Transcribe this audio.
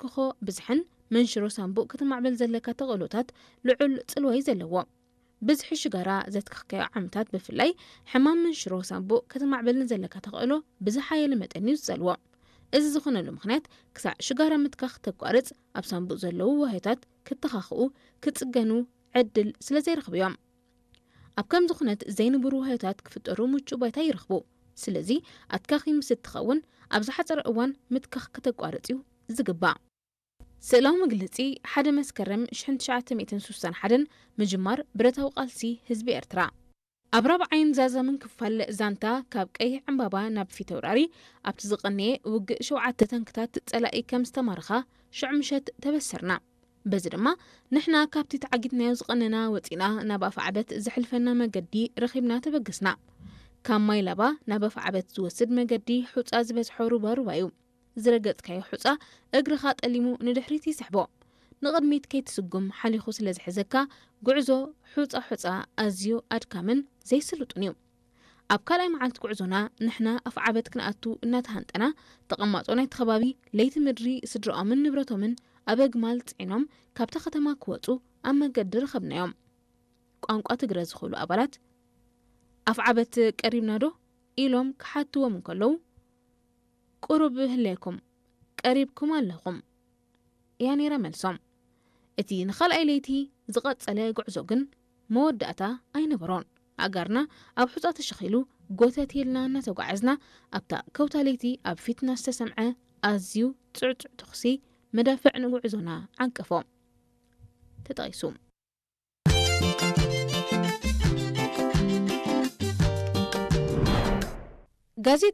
ንትክኾ ብዝሕን መንሽሮ ሳንቡእ ከተማዕብል ዘለካ ተኽእሎታት ልዑል ጽልዋ እዩ ዘለዎ። ብዝሒ ሽጋራ ዘትከኽካዮ ዓመታት፣ ብፍላይ ሕማም መንሽሮ ሳንቡእ ከተማዕብል ንዘለካ ተኽእሎ ብዝሓየለ መጠን እዩ ዝጸልዎ። እዚ ዝኾነሉ ምኽንያት፣ ክሳዕ ሽጋራ ምትካኽ ተቋርጽ፣ ኣብ ሳንቡእ ዘለዉ ዋህዮታት ክተኻኽኡ፣ ክጽገኑ ዕድል ስለ ዘይረኽቡ እዮም። ኣብ ከምዚ ኩነት ዘይንቡር ዋህዮታት ክፍጠሩ ምቹእ ባይታ ይረኽቡ። ስለዚ ኣትካኺ ምስ እትኸውን፣ ኣብ ዝሓጸረ እዋን ምትካኽ ከተቋርጽ እዩ ዝግባእ። ስእላዊ መግለጺ፣ ሓደ መስከረም ሽሕን ትሽዓተ ሚእትን ስሳን ሓደን፣ ምጅማር ብረታዊ ቃልሲ ህዝቢ ኤርትራ። ኣብ ራብዓይን ዛዛምን ክፋል ዛንታ፣ ካብ ቀይሕ ዕምባባ ናብ ፊተውራሪ ኣብቲ ዝቐነየ ውግእ፣ ሸውዓተ ታንክታት ጸላኢ ከም ዝተማረኻ ሽዑ ምሸት ተበሰርና። በዚ ድማ ንሕና ካብቲ ተዓጊትናዮ ዝቐነና ወጺና፣ ናብ ኣፍዓበት ዘሕልፈና መገዲ ረኺብና ተበገስና። ካብ ማይ ላባ ናብ ኣፍዓበት ዝወስድ መገዲ ሑጻ ዝበዝሖ ሩባ ሩባ እዩ። ዝረገጽካዮ ሑጻ እግርኻ ጠሊሙ ንድሕሪት ይስሕቦ። ንቕድሚት ከይትስጉም ሓሊኹ ስለ ዝሕዘካ፣ ጉዕዞ ሑጻ ሑጻ ኣዝዩ ኣድካምን ዘይስሉጥን እዩ። ኣብ ካልኣይ መዓልቲ ጉዕዞና፣ ንሕና ኣፍዓበት ክንኣቱ እናተሃንጠና፣ ተቐማጦ ናይቲ ከባቢ ለይቲ ምድሪ ስድራኦምን ንብረቶምን ኣብ ኣግማል ጽዒኖም ካብታ ከተማ ክወጹ ኣብ መገዲ ረኸብናዮም። ቋንቋ ትግረ ዝኽእሉ ኣባላት፣ "ኣፍዓበት ቀሪብና ዶ?" ኢሎም ክሓትዎም እንከለዉ፣ "ቁሩብ ህለየኩም፣ ቀሪብኩም ኣለኹም" እያ ነይራ መልሶም። እቲ ንኻልኣይ ለይቲ ዝቐጸለ ጉዕዞ ግን መወዳእታ ኣይነበሮን። ኣእጋርና ኣብ ሑጻ ተሸኺሉ፣ ጎተት ኢልና እናተጓዓዝና፣ ኣብታ ከውታ ለይቲ ኣብ ፊትና ዝተሰምዐ ኣዝዩ ጽዕጹዕ ተኹሲ መዳፍዕ ንጉዕዞና ዓንቀፎ። ተጠቒሱ። ጋዜጣ